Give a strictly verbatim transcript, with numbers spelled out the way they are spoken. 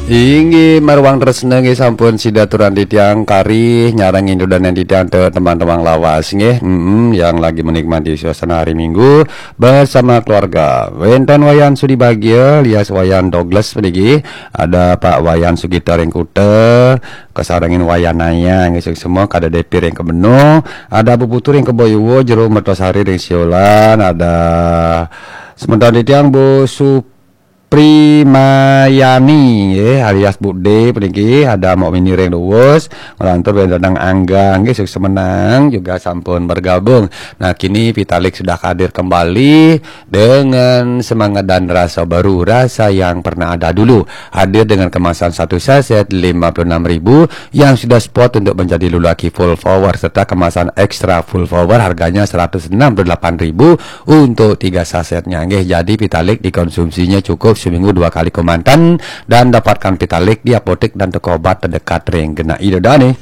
Inggih, maruang tresna nggih sampun sida aturang titiang kari nyarengin dudonan titiang te teman-teman lawas nggih. Mm-mm, yang lagi menikmati suasana hari Minggu bersama keluarga. Wénten Wayan Sudi Bagia alias Wayan Douglas puniki, ada Pak Wayan Sugita ring Kuta, kasarengin Wayan Naya nggih semua, kada Depi ring Kebeno, ada Bu Putu ring Keboyuwa, Jero Mertosari ring Siolan, ada semeton titiang Bu Su Primayani, nggih, alias Bude puniki, ada Mok Mini ring Luwus, nglantur wénten Angga, nggih, sukses menang juga sampun bergabung. Nah, kini Vitalik sudah hadir kembali dengan semangat dan rasa baru, rasa yang pernah ada dulu. Hadir dengan kemasan satu saset lima puluh enam ribu yang sudah spot untuk menjadi lelaki full power serta kemasan extra full power harganya seratus enam puluh delapan ribu untuk tiga sasetnya. Nggih, jadi Vitalik dikonsumsinya cukup seminggu dua kali kemanten dan dapatkan Vitalik di apotek dan toko obat terdekat ring genah ida dane.